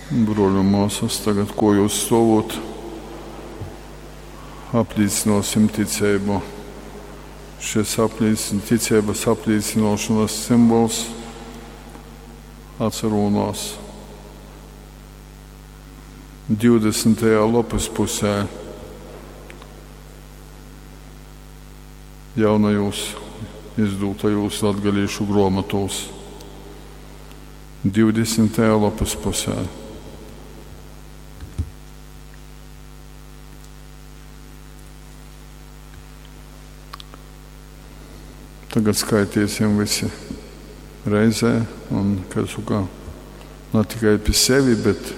Bruoļi un muosys, tagad kuojuos stuovūt, aplīcynuosim ticeibu. Šis aplīcyn, ticeibys aplīcynuošonys simbols atsarūnās 20. lopys pusē jaunajūs izdūtajūs latgalīšu gruomotuos. 20. lopys pusē. Tagad skaitiesim visi reizē, un, kā saka, ne tikai pi sevi, bet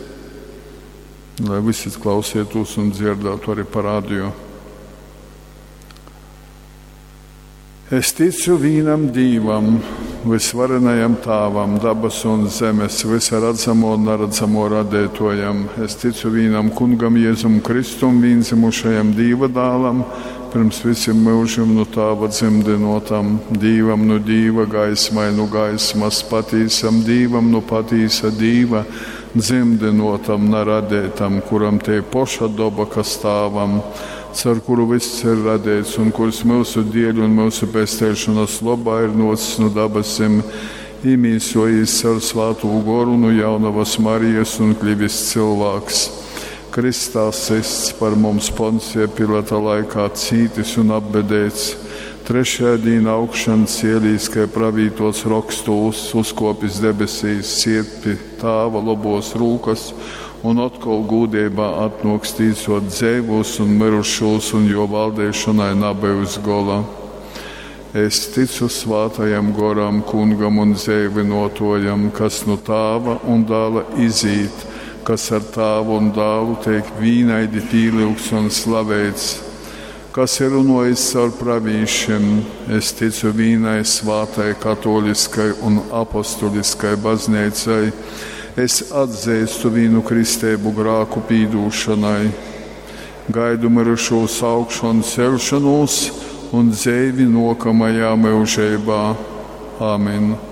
lai visi klausītos un dzirdētu arī pa radio. Es ticu vīnam Dīvam, vysvarenajam Tāvam, dabasu un zemes, vysa radzamo un naradzamo radētojam. Es ticu vīnam Kungam Jēzum Kristum, vīndzimušajam Dīva dālam, pirms visiem mūžiem no Tāva dzimdinotam, Dīvam no Dīva, gaismai no gaismas, patīsam Dīvam no patīsa Dīva, dzimdinotam, naradētam, kuram te poša doba, kas Tāvam, caur kuru viss ir radīts un kurs mūsu dieļ un mūsu pesteišanas lobā ir nocis no dabasim, imīsojis caur svātū goru no jaunavas Marijas un kļuvis cilvēks. Kristā sists par mums Poncija Pilata laikā cītis un apbedēts, trešajā dīnā augšan cielīs, kai pravītos rokstūs, uzkopis debesīs, siet pi tāva lobos rūkas un atkal gūdībā atnoks tīsot dzeivūs un mirušūs, un jo valdīšanai nabyus gola. Es ticu svātajam goram, kungam un dzeivynotojam, kas no tāva un dāla izīt, kas ar tāvu un dālu tiek vīnaidi pīlyugts un slaveits, kas ir runojis caur pravīšiem. Es ticu vīnai svātai katoliskai un apostoliskai baznīcai. Es atzīstu vīnu kristēbu grāku pīdūšanai, gaidu mirušūs augšanu celšanos un dzeivi nokamajā mūžībā. Āmen!